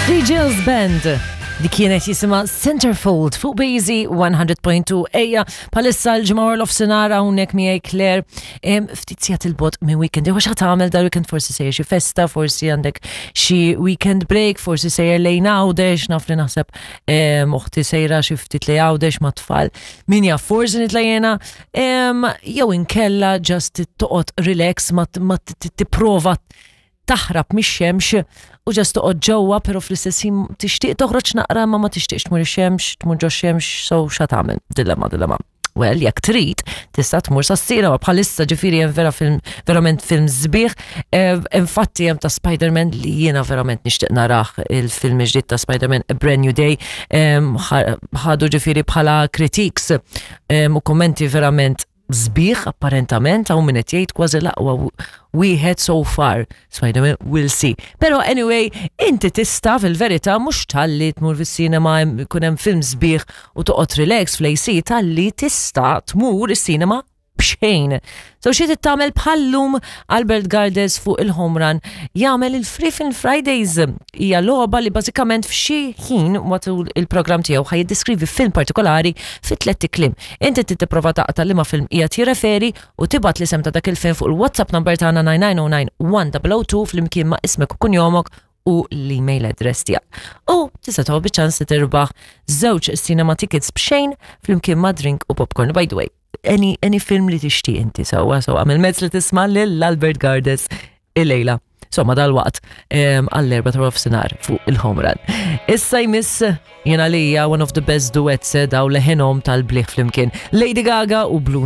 The Jills Band. Dik kienet jisimha Centerfold fuq Bazy 100.2. Ejja, palissa l-ġimgħa wara l-ofsinhar hawnhekk miegħi Claire. Ftit sigħat il-bot minn weekend. Jew x'ħa tagħmel dal weekend forsi sejjer xi festa, forsi għandek xi weekend break, forsi sejjer lejn Għawdex, naf li naħseb uħti sejra xi ftit lejn Għawdex mat-tfal. Min jaf forsi nitla' jiena jew inkella just toqgħod relax ma tipprova taħrab mix-xemx u ġast toqgħod ġewwa però fl-istess ħin tixtieq toħroġ naqra ma ma tixtieqx tmur ix-xemx, tmur ġo xemx, so xa tagħmel? Dilemma, dilemma. Well, jekk trid, tista' tmur sas-sinema bħalissa ġifieri hemm vera film, verament film sbieħ. Eh, infatti hemm ta' Spider-Man li jiena verament nixtieq narah il-film ġdid ta' Spider-Man A Brand New Day. Ħadu ġifieri bħala critiques u kommenti verament sbieħ apparentament hawn min qed jgħid kważi l-aqwa wieħed so far. Spider-Man we'll see. Però anyway, inti tista' fil-verità mhux talli tmur fis-sinema jkun hemm film sbieħ u toqgħod relax fl-AC talli tista' tmur is-sinema b'xejn. So xi trid tagħmel bħallum Albert Gardes fuq il-Home Run jagħmel il-Free Film Fridays. Hija logħba li bażikament f'xi ħin matul il-programm tiegħu ħaj jiddeskrivi film partikolari fi tlett ikliem. Inti trid tipprova taqta' liema film qiegħed jirreferi u tibgħat l-isem ta' dak il-film fuq il-WhatsApp number tagħna 9909 1002 flimkien ma' ismek u kunjomok u l-email address tiegħek. U tista' tieħu biċ-ċans li tirbaħ żewġ cinema tickets b'xejn flimkien ma' drink u popcorn. By the way, any, any film li tixtieq inti sewwa so għamil mezz li tisma' lil Albert Gardes il-lejla. Somma dal-waqt għall-erba ta' nofsinhar fuq il-home run. Issa jmiss jena lija one of the best duets eh, daw leħenom tal-bliħ flimkien. Lady Gaga u Blue.